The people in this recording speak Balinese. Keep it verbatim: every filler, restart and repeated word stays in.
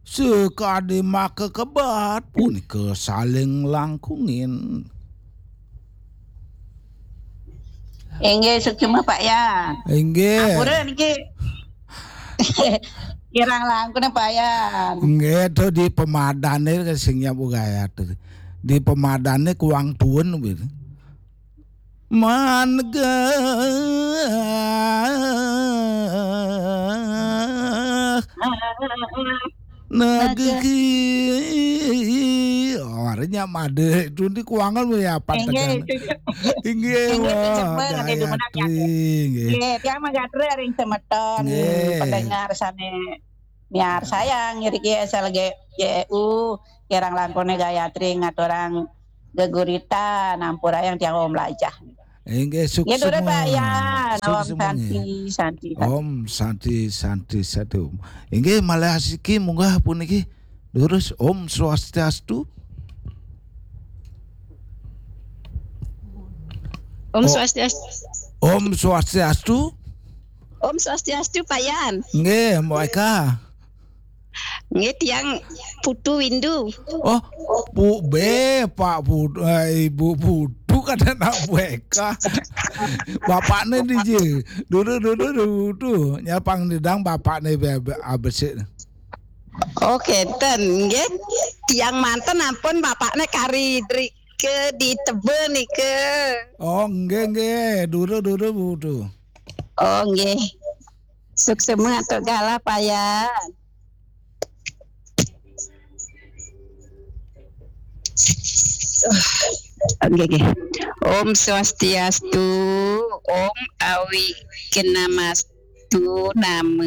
Sekadi makekebet punika saling langkungin. Inggih, suksma Pak Yan. Inggih. Ampura niki. Kirang langkung Pak Yan. Inggih, to di pemadane sing nyapu gayat. Di pemadane kuang tuun. Manegah negeri. Oh, artinya made itu di kuangan ya apa tekan. Inggih, wah, Gayatri. Inggih, tiang manggatri ring semeton pendengar sane miarsayang ngriki S L G J U, kirang langkune Gayatri ngaturang geguritan, ampurayang tiang wau mlajah. Inggih, suksma. Nggih, durus Pak Yan. Om Santi, Santi, Santi. Om Santi, Santi, Santi. Inggih, malih asiki munggah puniki. Durus, Om Swastiastu. Om Swastiastu. Om Swastiastu. Om Swastiastu, Pak Yan. Nggih, Mbok Eka. Nggih, tiang Putu Windu. Oh, Bu B, Pak Putu, eh, Ibu Putu kan anak Bu Eka. Bapakne D J. Dulu, dulu, dulu. Nyapang nidang bapakne be- be- abesik. Oh, kenten nggih. Tiang manten ampun bapakne kari drike di Tebel nike. Oh, nggih, nggih. Dulu, dulu, Putu. Oh, nggih. Suksma atur galah, Pak Yan. Nggih, nggih. Om Swastiastu, Om Awi Kenamastu, Nama